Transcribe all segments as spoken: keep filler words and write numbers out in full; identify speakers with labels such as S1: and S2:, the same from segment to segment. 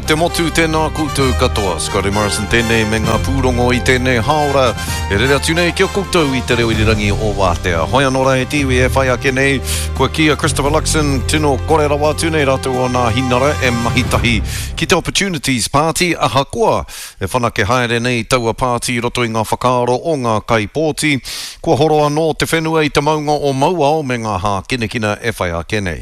S1: te motu, tēnā koutou katoa. Scotty Morrison tēnei me ngā pūrongo i tēnei hāora. E rere atu nei ki a koutou i te reo irirangi o Wātea. Hoi anō rā e te iwi e whai ake nei, kua kī a Christopher Luxon, tino kore rawa atu nei rātou o Nāhinara e mahi tahi ki te Opportunities Party, ahakoa e whanake haere nei taua pāti i roto i ngā whakaaro o ngā kaipōti. Kua horo anō te whenua i te maunga o Mauao me ngā hākinakina e whai ake nei.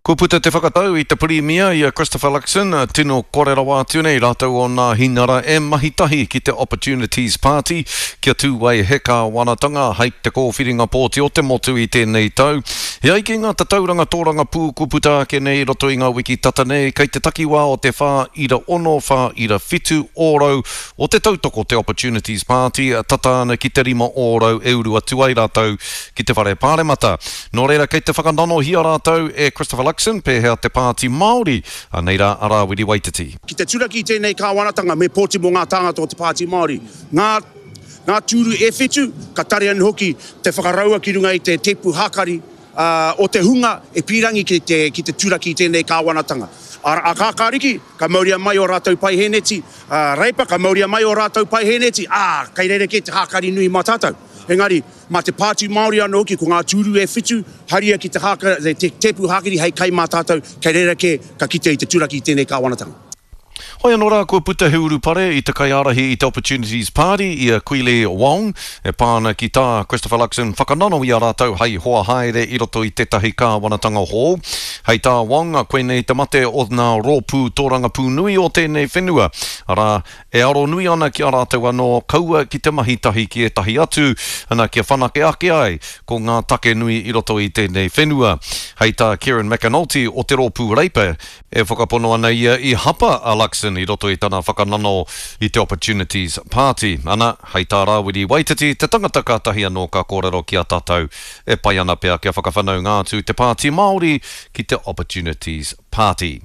S1: Kua puta te whakatau i te pirimia i a Christopher Luxon, tino kore rawa atu nei rātou o Nāhinara e mahi tahi ki te Opportunities Party kia tū ai he kāwanatanga hei te kōwhiringa pōti o te motu i tēnei tau. E ai ki ngā tatauranga tōrangapū kua puta ake nei i roto i ngā wiki tata nei, kei te takiwā o te whā ira ono, whā ira whitu ōrau o te tautoko te Opportunities Party, tata ana ki te rima ōrau e uru atu ai rātou ki te whare pāremata. Nō reira, kei te whakananohia rātou e Christopher Luxon, pēhea te Pāti Māori, anei rā a Rāwiri Waititi.
S2: Ki te turaki i tēnei kāwanatanga me pōti mō ngā tāngata o te Pāti Māori. Ngā, ngā tūru e whitu, ka tare anō hoki te whakaraua ki runga i te tepu hākari uh, o te hunga e pīrangi ki te, ki te turaki i tēnei kāwanatanga. A, a Kākāriki, ka mauria mai o rātou paiheneti, a Reipa, ka mauria mai o rātou paiheneti, ā, kei rerekē te hākari nui mā tātou. Engari, mā te Pāti Māori anō hoki, ko ngā tūru e whitu, haria ki te, hāka, te tepu hākari hei kai mā tātou, kei rerekē ka kite i te turaki i tēnei kāwanatanga.
S1: Hoi anō rā, kua puta he urupare i te kaiārahi i te Opportunities Party i a Kwili Wong, e pā ana ki tā Christopher Luxon whakanano i a rātou hei hoa haere i roto i tētahi kāwanatanga hou. Hei tā Wong, koinei te mate o ngā rōpū tōrangapū nui o tēnei whenua. Arā, e aro nui ana ki a rātou anō, kaua ki te mahi tahi ki ētahi atu, ana kia whanake ake ai ko ngā take nui i roto i tēnei whenua. Hei tā Kieran McAnulty o te rōpū Reipa, e whakapono ana ia i hapa a Luxon i roto i tana whakanano i te Opportunities Party. Ana, hei tā Rāwiri Waititi, te tangata kātahi anō ka kōrero ki a tātou e pai ana pea kia whakawhanaunga atu te Pāti Māori ki te Opportunities Party.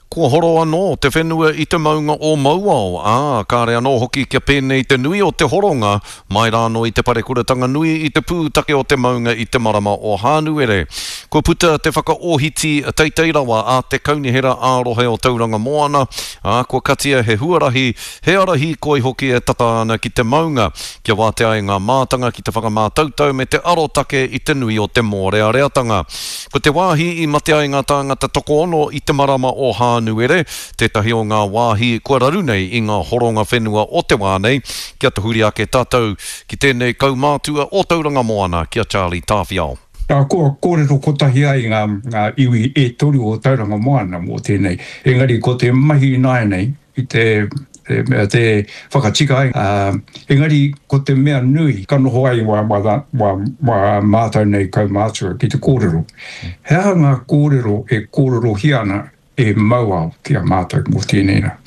S1: Kua horo anō te whenua i te maunga o Mauao, ā, kāre anō hoki kia pēnei te nui o te horonga mai rānō i te parekuratanga nui i te pūtake o te maunga i te marama o Hānuere. Kua puta te whakaohiti teitei rawa a te kaunihera ā-rohe o Tauranga Moana, ā, kua katia he huarahi, he ara hīkoi hoki e tata ana ki te maunga, kia wātea ai ngā mātanga ki te whakamātautau me te arotake i te nui o te mōreareatanga. Ko te wāhi i mate ai ngā tāngata tokoono i te marama o Hānuere, tētahi o ngā wāhi kua raru nei i ngā horonga whenua o te wā nei, kia tahuri ake tātou ki tēnei kaumātua o Tauranga Moana, ki a Charlie Tāwhiao.
S3: Nā, kua kōrero kotahi ai ngā, ngā iwi e toru o Tauranga Moana mō tēnei. Engari ko te mahi ināianei i te, te, te whakatika ai. Uh, engari ko te mea nui ka noho ai wā, wā, wā, wā mātou nei kaumātua ki te kōrero. He aha ngā kōrero e kōrerohia ana e Mauao ki a mātou mō tēnei rā.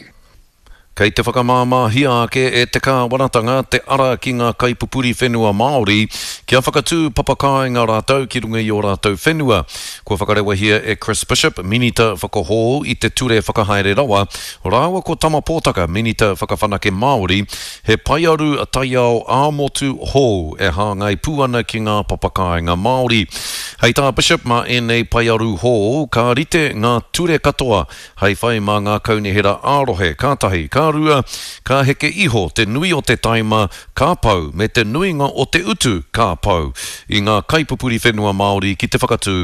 S1: Kei te whakamāmāhia ake e te kāwanatanga te ara ki ngā kaipupuri whenua Māori kia whakatū papakāinga rātou ki runga i ō rātou whenua. Kua whakarewahia e Chris Bishop, Minita Whakahou i te Ture Whakahaere Rawa, rāua ko Tama Pōtaka, Minita Whakawhanake Māori, he paearu taiao ā-motu hou e hāngai pū ana ki ngā papakāinga Māori. Hei tā Bishop, mā ēnei paearu hou, ka rite ngā ture katoa hei whai mā ngā kaunihera ā-rohe, ka tahi, ka rua, ka heke iho te nui o te taima, ka pau, me te nuinga o te utu, ka pau, i ngā kaipupuri whenua Māori ki te whakatū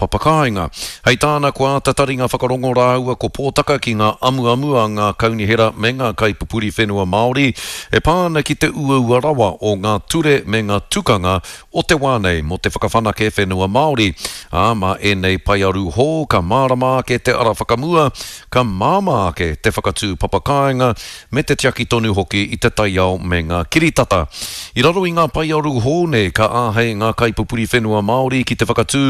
S1: papakāinga. Hei tāna, kua āta taringa whakarongo rāua ko Pōtaka ki ngā amuamu a ngā kaunihera me ngā kaipupuri whenua Māori e pā ana ki te uaua rawa o ngā ture me ngā tukanga o te wā nei mō te whakawhanake whenua Māori. Ā, mā ēnei paearu hou ka mārama ake te ara whakamua, ka māmā ake te whakatū papakāinga me te tiaki tonu hoki i te taiao me ngā kiritata. I raro i ngā paearu hou nei ka āhei ngā kaipupuri whenua Māori ki te whakatū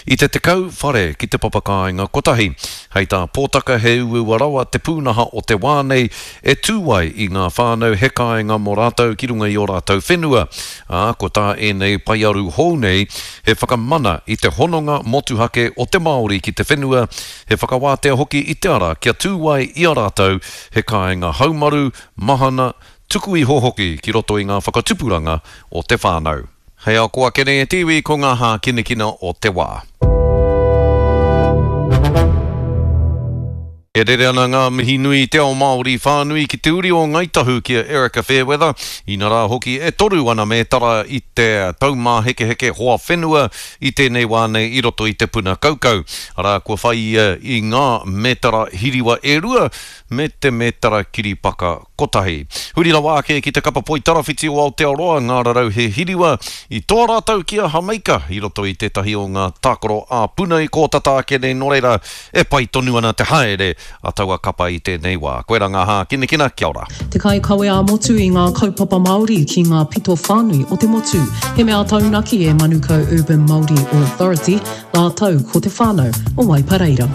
S1: i te tekau whare ki te papakāinga kotahi. Hei tā Pōtaka, he uaua rawa te pūnaha o te wā nei e tū ai i ngā whānau he kāinga mō rātou ki runga i ō rātou whenua. Ā, ko tā ēnei paearu hou nei he whakamana i te hononga motuhake o te Māori ki te whenua, he whakawātea hoki i te ara kia tū ai i a rātou he kāinga haumaru, mahana, tuku iho hoki ki roto i ngā whakatupuranga o te whānau. Hei ako ake nei e te iwi ko ngā hākinakina o te wā. E rere ana ngā mihi nui i te ao Māori whānui ki te uri o Ngāi Tahu ki a Erika Fairweather, inarā hoki e toru ana mētara i te Taumāhekeheke Hoa Whenua i tēnei wā nei i roto i te puna kaukau. Arā, kua whai ia i ngā mētara hiriwa e rua me te mētara kiripaka kotahi. Huri rawa ake ki te kapa poitarawhiti o Aotearoa, ngā rarauhe hiriwa, i toa rātou ki a Hameika i roto i tētahi o ngā tākaro ā-puna i kō tata ake nei, nō reira, e pai tonu ana te haere a taua kapa i tēnei wā. Koirā ngā hākinakina, kia ora.
S4: Te kaikawe ā-motu i ngā kaupapa Māori ki ngā pito whānui o te motu. He mea taunaki e Manukau Urban Māori Authority rātou ko te whānau o Waipareira.